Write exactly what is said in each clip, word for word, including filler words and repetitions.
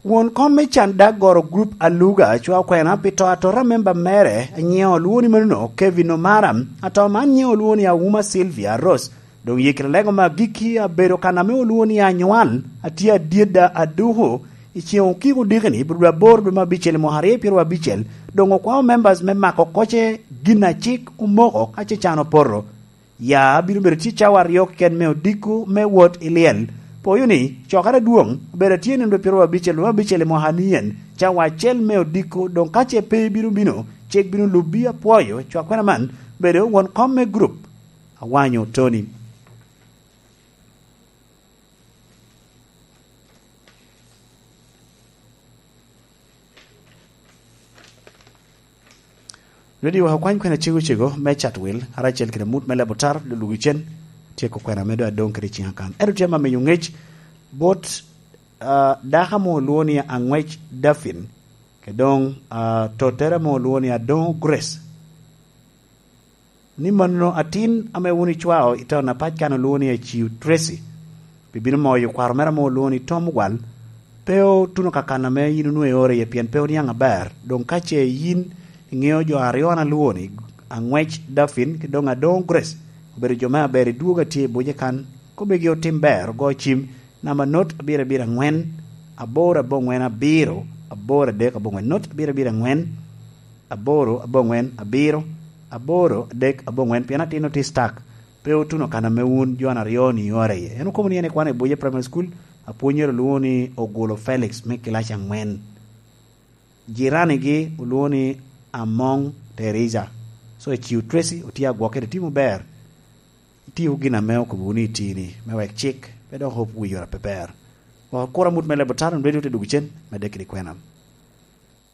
Won kom me can dag goro grup Aluga cwa okwena pi to atora memba mere, nyiŋe olwoŋo ni manono Kevin Omara. Ato man nyiŋe olwoŋo ni Auma Sylvia Rose. Doŋ yikere lego me agikki abedo kan ame olwoŋo ni Anywal, atye adyedda aduku. I ceŋ okiko dikini, bro aboro dwe me abicel i mwaka aryo pyeraryo abicel, doŋ okwao members me mako koce gin a cik omoko ka ce can opoto. Ya bino bedo tye cawa aryo keken me odiko me wot i lyel. Poyo ni, cokere adwoŋ obedo atye nino dwe pyeraryo abicel, dwe me abicel i mwaka nien, cawa acel me odiko, doŋ ka ce pe bino bino, cik bino lubbi. Apwoyo cwakwena man, bedo won kom me grup Awanyo Tony. Nodi wek okwany kwena cego cego me Chatwil, ara acel kede mut me Lebo Tar, lulugi cen, tyeko kwena me doŋ adoŋ kede ciŋa kan. Ento tye ma miyo ŋec bot, ah, dako amo olwoŋo ni Aŋwec Dafin, kede doŋ, ah, tottere amo olwoŋo ni Adoŋo Grace. Ni mano atin ame wun icwao i taun apac kan olwoŋo ni Aciu Tracy, pi bino moyo kwaro mere ame olwoŋo ni Tom Ogwal, pe otuno ka kan ame yin onwoŋo iore iye, pien pe oniaŋ aber. Doŋ ka ce yin iŋeo jo aryo an alwoŋo ni, Aŋwec Dafin, ki doŋ Adoŋo Grace, obedo jo me aber i dwogo a tye i buc kan, kombigi otim ber, ogo cim, namba not abiro abiro aŋwen, aboro aboŋwen abiro, aboro adek aboŋwen, not abiro abiro aŋwen, aboro aboŋwen abiro, aboro adek aboŋwen, pien atin otis tak, pe otuno kan ame wun jo aryo-ni iora iye. En okobo ni en ekwano i Buye Primary School, apwonyere olwoŋo ni Ogulo Felix me kilaci aŋwen. Jiranigi olwoŋo ni Amoŋ Teresa. So, Aciu Tracy otye agwokke, itimo ber. Itio gin ame okobo wunu i tini, me wek cik pe dok op wi yore ape ber. Wek okura mut me Lebo Tar, onwedi ote dwogo cen, medde kede kwena.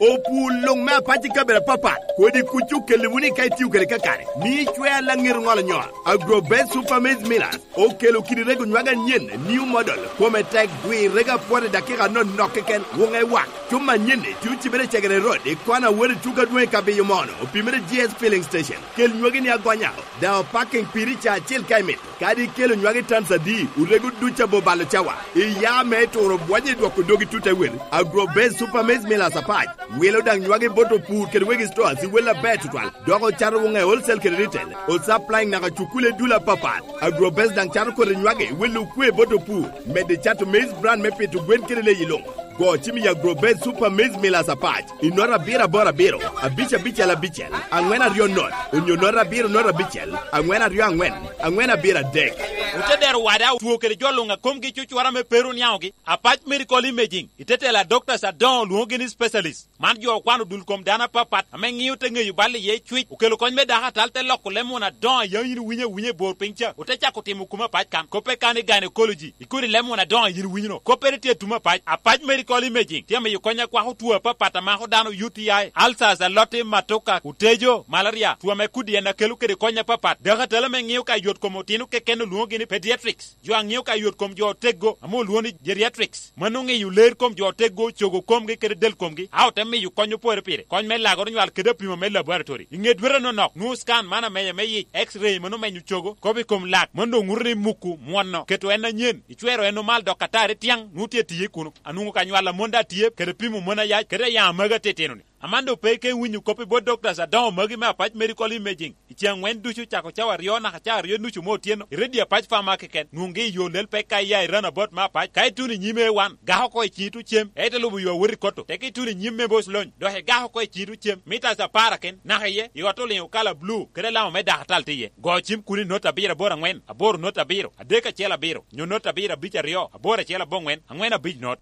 Opur luŋ me apac i kabedo apapat, kodi kuc okelli wunu i ka itio kede kakare, mi icwe alaŋir ŋolo nyol. Agrobest Super Maize Millers okelo kidi rego nywage anyen, new model, kome tek, gwir rego apwot i dakika anonok keken, wuŋe wak. Cuma anyen-ni tye ocibere i Cegere Road, i kona wot i tuko adwoŋ i Kabiyo Mono, opimere G S Filling Station. Kel nywagi ni agonya, daŋ opaking piri ca acel ka imito. Kadi ikelo nywagi tans adi, orego duc abo balo cawa. Iya me turo bwonye i dwoko dogi tut awel. Agrobest Super Maize Millers apac wilo daŋ nywagi bot opur kede wegi stores i wel aber tutwal, dok ocato wuŋe wholesale kede retail. Osupplying naka cukule dul apapat. Agrobest daŋ cato kodi nywagi welo okwe bot opur, medo cato maize bran me pito gwen kede leyi luŋ. Go cim i Agrobest Super Maize Millers apac i nota abiro aboro abiro, abic abicel abicel, aŋwen aryo not, onyo nota abiro nota abicel, aŋwen aryo aŋwen, aŋwen abiro adek. Ote dero wada otwo kede jo luŋ a komgi cucwara me pero niaŋogi, Apac Medical Imaging, i te tela Doctors adoŋo olwoŋogi ni specialist. Man jo okwano dul kom dano apapat ame ŋio te ŋeyo bal iye cwic, okelo kony me dako atal, te loko leb muna adoŋo a yam yin iwinyo awinya i bor piny ca, ote cako timo kuma apac kan. Koppe kan i gynecology, i kodi leb muna adoŋo a yin iwinyo-nu, koppere tye i tuma apac. Apac Medical Imaging tye amiyo kony akwako two apapat a mako dano, U T I, ulcers, aloti, matoka, otejo, malaria, two ame kudi en akelo kede kony apapat. Dako atal ame ŋio ka yot kom otino keken olwoŋogi ni pediatrics. Jo a ŋio ka yot kom jo oteggo ame olwoŋo ni geriatrics, mano ŋeyo ler kom jo oteggo, cogo komgi kede del komgi, a ote miyo kony opore pire, kony me lagoro nywal kede apimo me laboratory. I ŋe dwete nonok, nwoŋo scan man amenya me yic, X-ray mano menyo cogo, kop i kom lak, mano doŋ ŋuto ni muku, mwono, keto en anyen, icwero en omal dok atari tiaŋ, nwoŋo tye tiye kuno. Anwoŋo ka nywal amon daŋ tye, kede pimo mon ayac, kede ayaŋ amagi atitino-ni. Aman doŋ pe ike winyo kop i bot doctors adoŋo magi me Apac Medical Imaging. I ceŋ aŋwen ducu, cako cawa aryo naka cawa aryo nucu me otyeno, i redio Apac Farmer keken, nwoŋgi i yo lel pek ka iya i roundabout me Apac. Ka ituno i nyim A one, gak oko i ciŋi tuŋ cem, ento lubo yo awot i koto. Teke ituno i nyim me boc lony, dok igak oko i ciŋi tuŋ cem, mitas apar aken, naka iye, i ot oliŋo kala blu, kede alama me dakatal tye iye. Go cim kun i not abiro aboro aŋwen, aboro not abiro, adek acel abiro, nyo not abiro abic aryo, aboro acel aboŋwen, aŋwen abic not.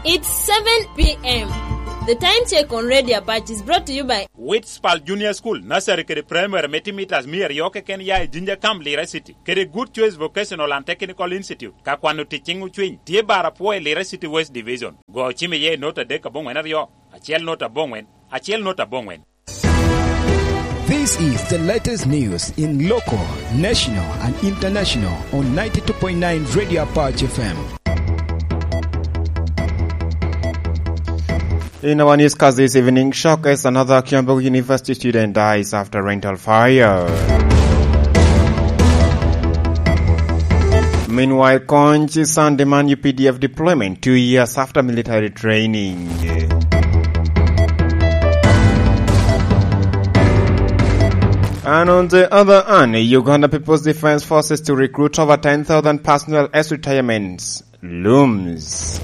It's seven p m. The time check on Radio Apac is brought to you by Witspal Junior School, Nursery kede Primary me timo mitas mia aryo keken ya i Jinja Camp, Lira City, kede Good Choice Vocational and Technical Institute, ka kwano tic ciŋ ocwiny, tye bar apwo i Lira City West Division. Go cim iye i not adek aboŋwen aryo, acel not aboŋwen, acel not aboŋwen. This is the latest news in local, national, and international on ninety-two point nine Radio Apache F M. In our newscast this evening, shock as another Kyambogo University student dies after rental fire. Meanwhile, Kony San demand U P D F deployment two years after military training. And on the other hand, Uganda People's Defense Forces to recruit over ten thousand personnel as retirements looms.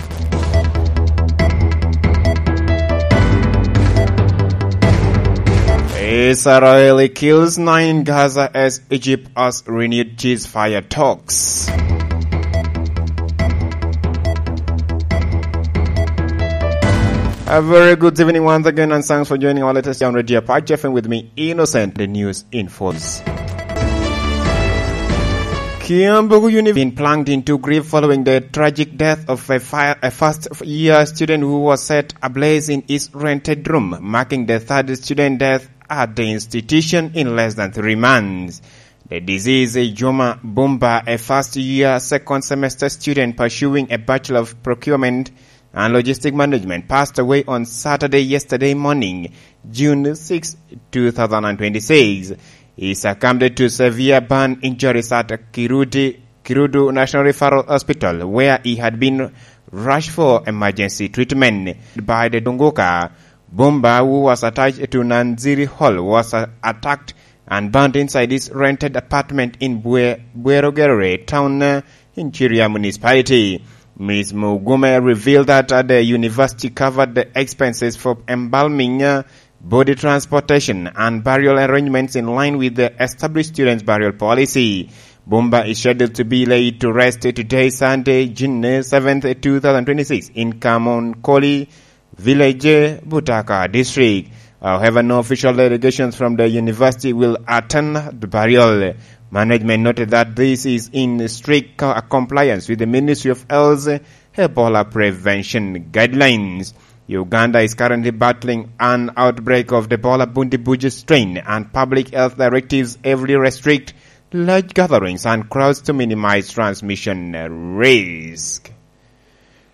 Israel kills nine in Gaza as Egypt has renewed ceasefire talks. A very good evening once again, and thanks for joining our latest on Radio Apache F M with me, Innocent, the news infos. Kiambogo University been plunged into grief following the tragic death of a, fire, a first year student who was set ablaze in his rented room, marking the third student death at the institution in less than three months. The deceased, Juma Bumba, a first year second semester student pursuing a Bachelor of Procurement and Logistic Management, passed away on Saturday, yesterday morning, June sixth, two thousand and twenty-six. He succumbed to severe burn injuries at Kirudi, Kirudu National Referral Hospital, where he had been rushed for emergency treatment. By the Dunguka, Bumba, who was attached to Nanziri Hall, was, uh, attacked and burnt inside his rented apartment in Bue-, Buero Gerere town, uh, in Chiria Municipality. Miss Mugume revealed that, uh, the university covered the expenses for embalming, uh, body transportation and burial arrangements in line with the established students' burial policy. Bumba is scheduled to be laid to rest today, Sunday, June seventh, two thousand twenty-six, in Kamonkoli Village, Butaka District. However, no official delegations from the university will attend the burial. Management noted that this is in strict co-, compliance with the Ministry of Health's Ebola prevention guidelines. Uganda is currently battling an outbreak of the Ebola Bundibugyo strain, and public health directives heavily restrict large gatherings and crowds to minimize transmission risk.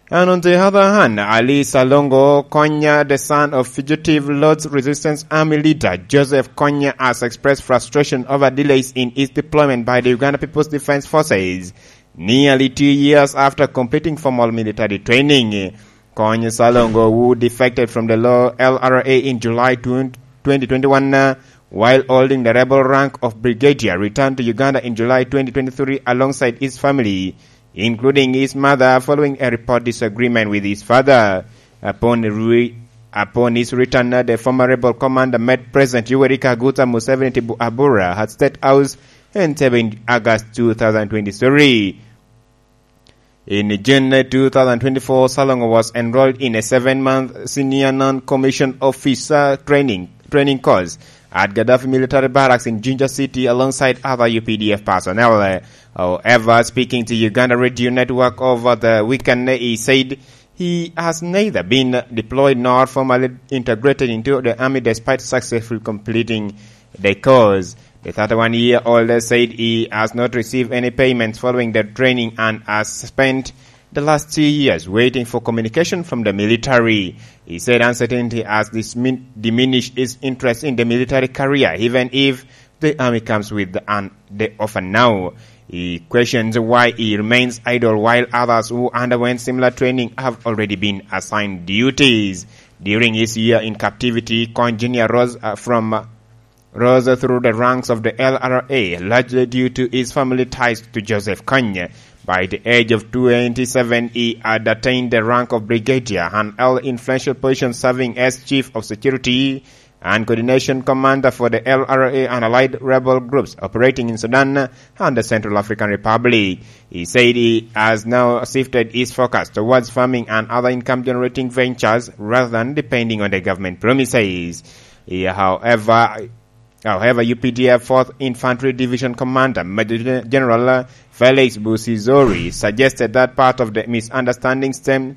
And on the other hand, Ali Salongo Konya, the son of fugitive Lord's Resistance Army leader Joseph Konya, has expressed frustration over delays in his deployment by the Uganda People's Defense Forces, nearly two years after completing formal military training. Kony Salongo, who defected from the law L R A in July twenty twenty-one, uh, while holding the rebel rank of brigadier, returned to Uganda in July twenty twenty-three alongside his family, including his mother, following a report disagreement with his father. Upon re-, upon his return, uh, the former rebel commander met President Yoweri Kaguta Museveni Tibu-, Abura at State House in seven August two thousand twenty-three. In June two thousand twenty-four, Salongo was enrolled in a seven-month senior non-commissioned officer training, training course at Gaddafi Military Barracks in Jinja City alongside other U P D F personnel. However, speaking to Uganda Radio Network over the weekend, he said he has neither been deployed nor formally integrated into the army despite successfully completing the course. The thirty-one-year-old said he has not received any payments following the training and has spent the last two years waiting for communication from the military. He said uncertainty has dismin-, diminished his interest in the military career, even if the army comes with an, the offer now. He questions why he remains idle while others who underwent similar training have already been assigned duties. During his year in captivity, Kony Junior rose, uh, from, uh, rose through the ranks of the L R A, largely due to his family ties to Joseph Kony. By the age of twenty-seven, he had attained the rank of brigadier and held influential positions, serving as chief of security and coordination commander for the L R A and allied rebel groups operating in Sudan and the Central African Republic. He said he has now shifted his focus towards farming and other income-generating ventures rather than depending on the government promises. He, however, however, U P D F Fourth Infantry Division Commander Major Gen-, General Felix Busizori suggested that part of the misunderstanding stem